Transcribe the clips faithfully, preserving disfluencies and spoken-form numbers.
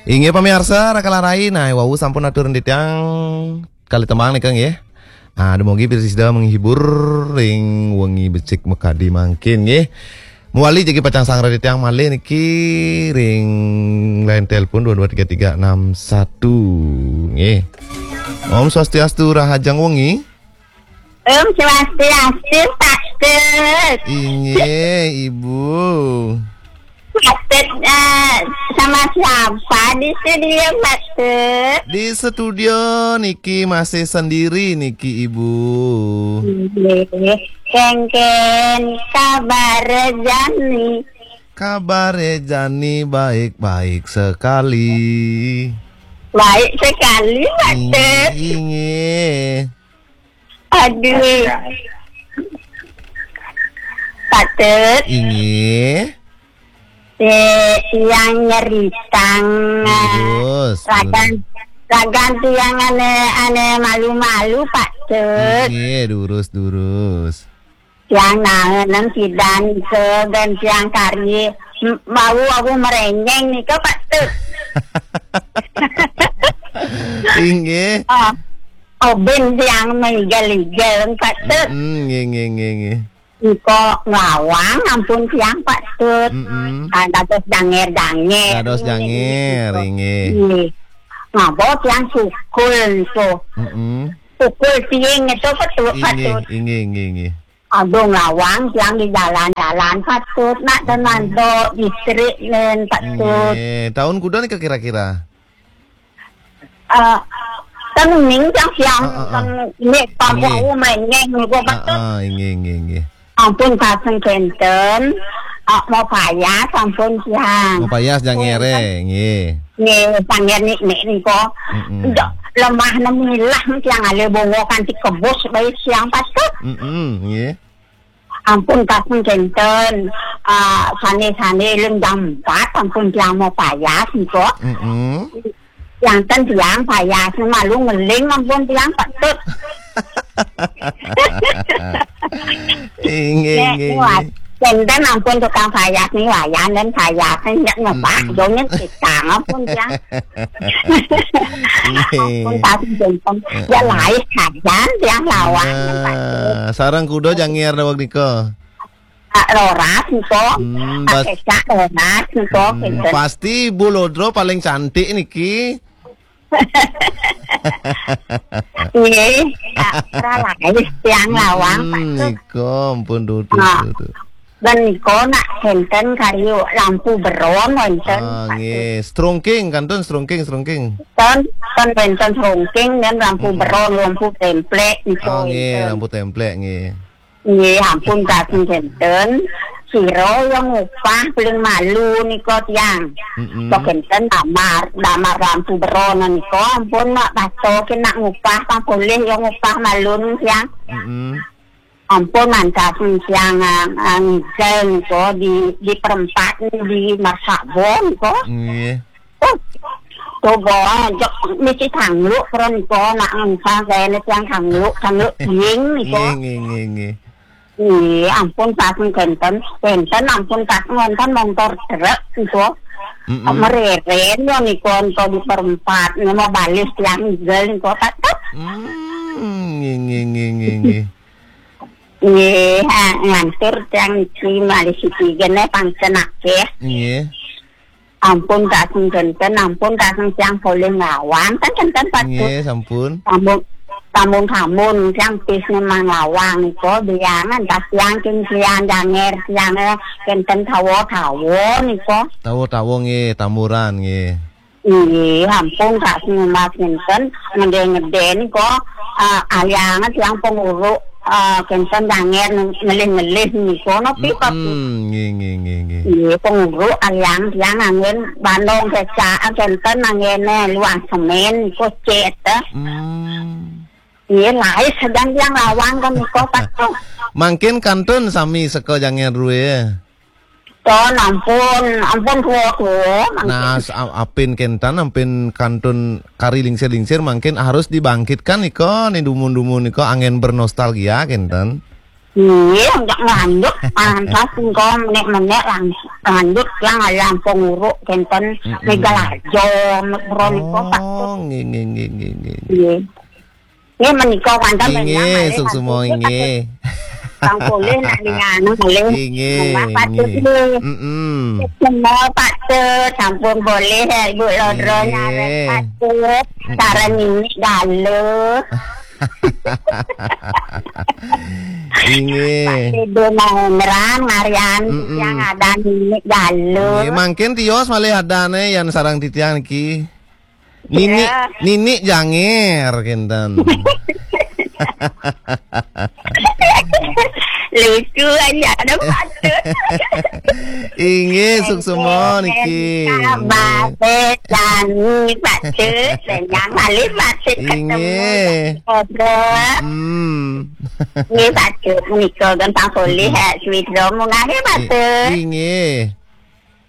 Inggih pamiarsa, Raka Larai, nah, wau sampun atur titiang kalih tembang nika nggih. Ah, dumugi prasida menghibur ring wengi becik makadi mangkin nggih. Mawali jagi pacang sareng titiang malih niki ring line telepon dua dua tiga tiga enam satu nggih. Om Swastiastu, rahajeng wengi. Om Swastiastu, Pak Tut. Inggih, Ibu. Pak Tut, eh, sama siapa di studio, Pak Tut? Di studio niki masih sendiri niki, Ibu. Inggih. Kengken kabar jani? Kabar jani baik-baik sekali. Baik sekali, Pak Tut. Inggih. Aduh. Pak Tut. Inggih. Eh, yang nyeritang, eh, Durus, ragan, durus. Ragan tiang ane, ane malu-malu, Pak Tut. Inggih, durus, durus. Tiang naenan sidan ke dan tiang karye, m-, mau aku merenyeng nika, Pak Tut. Inggih. Ah, obin tiang mengigel-igel, Pak Tut. Mm, nggih, nggih, nggih, nggih. Nika ngawang ampun tiang, Pak Tut. Mm-mm. Ah, dados danger-danger. Dados danger, inggih. Inggih. Ngaba tiang sukul nika. Mm-mm. Sukul tiing itu, Pak Tut, Pak Inggih, Tut. Inggih, inggih, inggih. Agung lawang tiang di jalan-jalan, Pak Tut. Nak tenan to distrik nen, Pak Tut. Nggih. Tahun kuda nika kira-kira? Eh, ten ning tiang siang, heeh, heeh. Ten nek kampung. Nggih. Aku menyeng niku, Pak Tut. Heeh, nggih, nggih, nggih. Ampun kaseng kenten, eh, mau payas ampun tiang. Mau payas jangere, nggih. Nggih, sangger nik-nik nika. Mm-mm. Ndak lemah nemilah tiang ale bongo kanthi kebus bae siang, Pak Tut. Mm-mm, nggih. Ampun kaseng kenten, ah, sane-sane lem jam empat ampun tiang mau payas nika. Mm-mm. Tiang ten tiang payas malu ngeling ampun tiang, Pak Tut. Inggih, nek inggih, kuat. Inggih. Kenten ampun tukang payas nih, wayan dan payas nih, ndak ngebak, mm-mm, dongeng kita ampun tiang. Nggih. Ampun, tapi jompong. Ya, heeh, lain saja yang lawan, Pak. Nah, sareng kuda jangir daweg nika. Ah, roras nika. Hmm, ah, bas-, kecak roras nika, hmm, kinten. Pasti Bu Lodro paling cantik niki. Nggih, ah, ora laris tiang lawang, hmm, Pak Tut. Nika, ampun, duh, duh, ah, duh, duh. Dan nika nak kenten karya lampu beron wonten, ah, Pak Tut. Nggih, strongking, kantun strongking, strongking. Ten, ten wonten strongking dan lampu, mm-mm, beron, lampu templek nika, ah, nggih, wonten. Lampu templek, nggih. Nggih, ampun, kasing kenten. Sira yang ngupah paling malu nika tiang. Mm-mm. Kok kenten damar, damar lampu beron nika, ampun, nak pastoke nak ngupah, pang polih yang ngupah malu tiang. Mm-mm. Ampun, mantas siang, ah, ah, ngigel nika di, di perempat di Marsabo nika. Nggih. Oh, coba aja mesti tangluk pura nika nak ngensah kene tiang tangluk, tangluk ding nika. Nggih, nggih, nggih, nggih. Nggih, ampun, saking kenten, kenten ampun saking wonten montor truk nika. Mm-mm. Mereren ya nika ento di perempat, nggih, mau balik tiang ngigel nika, Pak Tut. Hmm, nggih, nggih, nggih, nggih, nggih. Nggih, ha, ngantur tiang niki malih siki gene pangcen akeh. Nggih. Ampun kasing kenten, ampun kasing tiang polih ngawang, kan kenten, Pak Tut. Nggih, sampun. Sampun, sampun, sampun, tiang pis memang ngawang nika, biyangan tas tiang king tiang janger, tiang, eh, kenten tawa-tawa nika. Tawa-tawa nggih, tamburan nggih. Nggih, ampun, sak sing mas ngenten, ngede-ngede nika, ah, aliangan tiang penguruk, ah, kenten dangen ngelih-ngelih nika, napa, Pak? Mm-mm, nggih, nggih, nggih, nggih. Nggih, penguruk aliang tiang anggen bandong kecak, kenten anggene luang semen nika cet, eh. Hmm. Nggih, laris sedang tiang lawang kan nika, Pak. Mangkin kantun sami seka jangen rue. Ton, ampun, ampun, tua-tua, mangkin. Nah, s-, a-, apin kenten, apin kantun kari lingsir-lingsir, mangkin harus dibangkitkan nika, ni dumun-dumun nika, angin bernostalgia kenten. Iya, enggak lanjut, pantas engko menek-menek lang lanjut lang alam penguruk kenten. Mm-mm. Megalarjo, Bro, niko, Pak. Oh, nggih, nggih, nggih, nggih, nggih. Iya. Nggih, menika wonten. Inggih, malih, suksma, Pak, inggih. Kang Polih nak ning anu malih. Inggih, Pak, inggih. Nggih. Mm-mm. Semua Pak Tut, sampun boleh ya, Ibu Lodro, inggih, nyaret Pak Tut. Mm-mm. Sareng Nini Galuh. Inggih. Pak Tedo Mahendra, Marian, mm-mm, titiang ada Nini Galuh. Nggih, mangkin tios malih adane yen sareng titiang niki. Nini, ya. Nini Janger, kenten. Lucu aja, ada Pak Tut. Inggih, suksma niki. Sabar, Sani, Pak Tut. Senang malih Pak Tut ketemu. Inggih. Ngobrol. Hmm. Nggih, Pak Tut, menika gampang polih, hmm, eh, sweet dong, munggah nggih, Pak Tut. I-, inggih.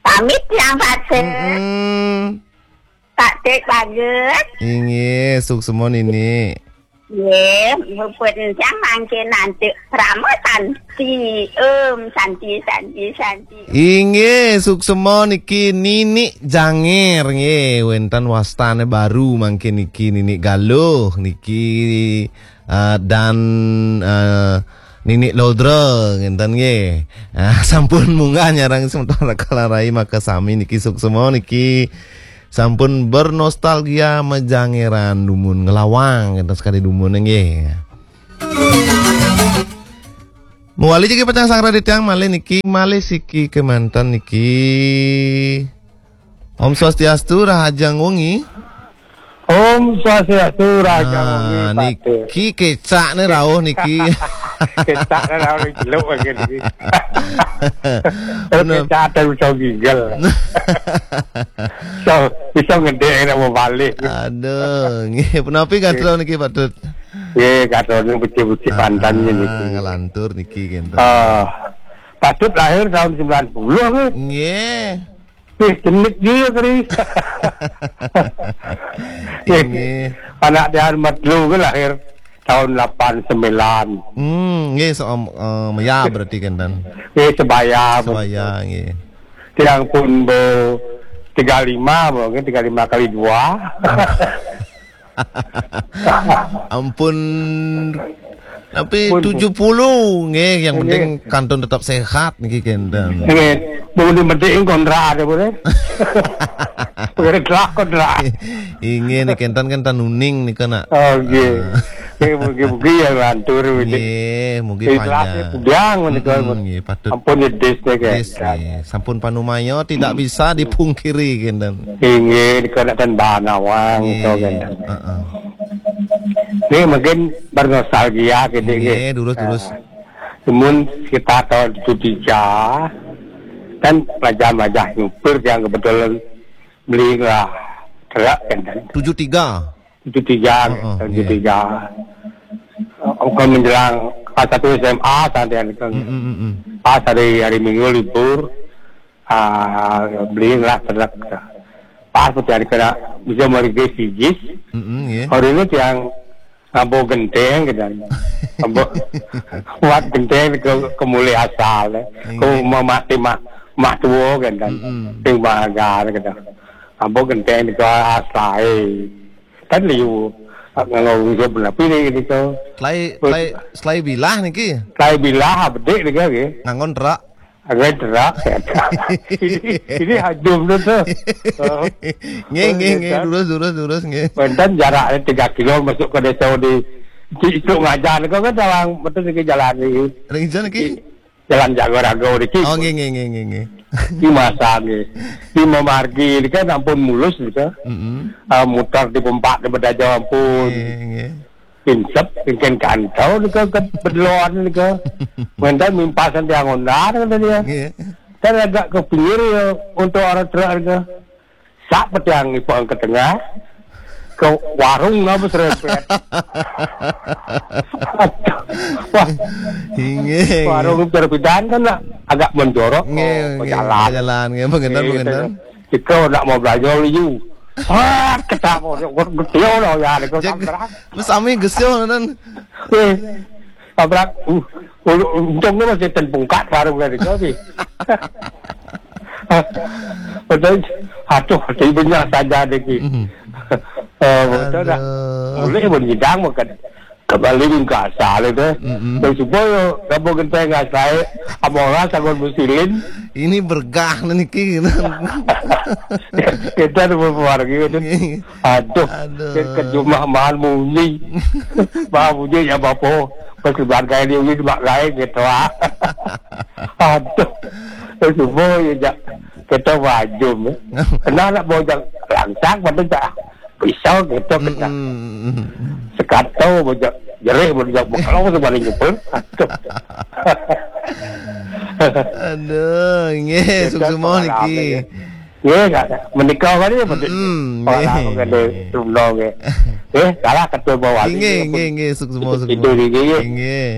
Pamit yang Pak Tut. Mm-mm. Pak Tut bagus. Inggih, suksma Nini. Nggih, puput encang mangkin nanti Rama Santi. Om Santi, Santi, Santi. Inggih, suksma niki Nini Janger nggih, wenten wastane baru mangkin niki Nini Galuh niki, eh, dan, eh, Nini Lodra ngenten nggih. Ah, sampun munggah nyareng semeton Kalarai maka sami niki suksma niki. Sampun bernostalgia majangeran dumun ngelawang enten sekali dumun nggih. Muali jagi pacang sang radit yang malih niki, malih siki kemanten niki. Om Swastiastu, rahajeng wengi. Om Swastiastu, rahajeng wengi, ah, Pak Tut. Niki kecakne rauh niki. Kecakne rauh niki, jeluk lagi niki. Bener. Kecak ada bisa gigel. So, bisa ngedek nak mau balik. Aduh, nggih, punapi gatra niki, Pak Tut? Nggih, gatra niki becik-becik, ah, mantan niki. Ngelantur niki, kenten. Ah, Pak Tut lahir tahun sembilan puluh, nggih. Nggih. Wih, gendut juga, Kri. Ini. Anak dia Ahmad Lu kan lahir tahun delapan sembilan. Hmm, nggih, so, eh, ya, berarti kan, Dan. Nggih, sebaya, sebaya, betul. Nggih. Tiang pun bo tiga lima, mungkin tiga lima kali dua. Ampun. Tapi pun tujuh puluh, nggih, yang penting kantun tetap sehat niki, kenten. Nggih, mun penting kontra ada boleh. Boleh telah kontra. Inggih, niki kenten kan tanuning nika, nak. Oh, nggih. Ah. Nggih, mugi-mugi ya lantur, nggih, mugi panjang. Ikhlas ya, panjang menika. Mm-mm, nggih, patut. Ampun ya, Des, nggih. Des, nggih. Sampun panumaya tidak bisa dipungkiri, kenten. Inggih, nika nak ten bahan awang, nggih, to, kenten. Heeh. Nggih, mungkin bernostalgia gitu, nggih. Nggih, durus, durus. Nah, cuman sekitar tahun tujuh tiga, kan pelajar-pelajar nyupir yang kebetulan beli lah truk, kan. Tujuh tiga? Tujuh tiga, heeh, tahun, iya, tujuh tiga. Bukan menjelang kelas satu S M A, saat yang kan. Mm, mm, mm, mm. Pas hari, hari Minggu libur, ah, belilah truk. Pas putih hari kena bisa merigi sijis. Mm-mm, iya. Hari ini yang ngambo genteng, gitu. Ngambo buat genteng ke, ke mulai asal, eh. Iya. Ke mati mah, mah tua, gitu. Mm-mm. Sing bahagia, gitu. Ngambo genteng ke asal, eh. Kan liu, nganggo wong sebelah pilih gitu. Selai, selai, selai bilah niki. Selai bilah, bedik niki, nggih. Nganggo truk. Nganggo truk. Ini, ini hajum tu, tu. Oh. Nggih, nggih, nggih. Kan? Durus, durus, durus, nggih. Wonten jaraknya tiga kilo masuk ke desa di, di itu ngajar. Kau kan dalam betul niki jalan ini. Ring jan niki? Jalan Jagorago niki. Oh, nggih, nggih, nggih, nggih, nggih. Di masa nggih. Di memargi niki ampun mulus niki. Mm-mm. Ah, mutar di pempak di bedaja ampun. Nggih, nggih. Pinsep, mungkin kantau niki ke bedelon niki. Mentan mimpasan tiang ondar, kata dia. Nggih. Dan agak ke pinggir ya, untuk orang truk niki. Sak petiang ipun ke tengah, ke warung napa serempet. Wah. Inggih, inggih. Warung terpidan kan nak agak mendorok, nggih, oh, nggih, jalan. Jalan, nggih, mengenten, nggih, mengenten. Kita nak mau belajar liu. Wah, ketemu, getio loh ya, ada. Jadi, terang. Terus sami gesio, ngoten. Eh, Abrak, uh, untung ni masih ten pungkat warung dari kau ni. Betul. Aduh, di banyak saja lagi. Eh, betul dah. Boleh pun nyidang makan. Kembali mingkasa le tu. Terus supaya kamu kenteng asai, amora sangon musilin. Ini bergah ni niki. Kita ada beberapa lagi tu. Aduh, aduh. Ke jumah mahal munyi. Mahal munyi ya bapa. Pas lebar gaya dia ni mak gaya gitu ah. Aduh. Terus supaya ya jak. Kita wajum. Kenal nak bawa jak langsang pada tak. Pisau gitu kena. Sekato baca jerih baca kalau tu paling jumpa. Aduh. Aduh, nggih, suksma niki. Nggih, menikah kali ya betul. Orang aku kena tumno nggih. Eh, kalah ketua bawah. Nggih, nggih, nggih, suksma, suksma. Itu nggih. Nggih.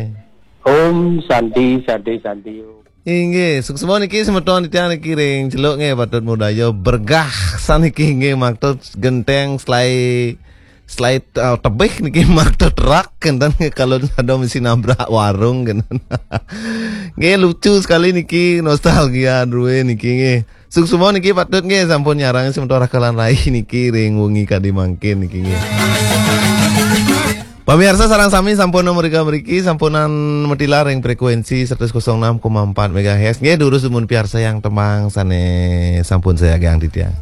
Om Santi, Santi, Santi. Inggih, suksma niki semeton titiang niki ring Celuk nggih, patut mudaya bergah saniki nggih, maktut genteng selai selai uh, tebih niki maktut rak kenten kalau ada mesti nabrak warung kenten. Nggih, lucu sekali niki, nostalgia druwe niki nggih. Suksma niki patut nggih sampun nyarang semeton rakalan rai niki ring wengi kadi mangkin niki nggih. Pemirsa sareng sami sampun nomor mriki sampunan metilar ring frekuensi seratus enam koma empat megahertz. Nggih, durus dumun piarsayang tembang sane sampun sayagiang titiang.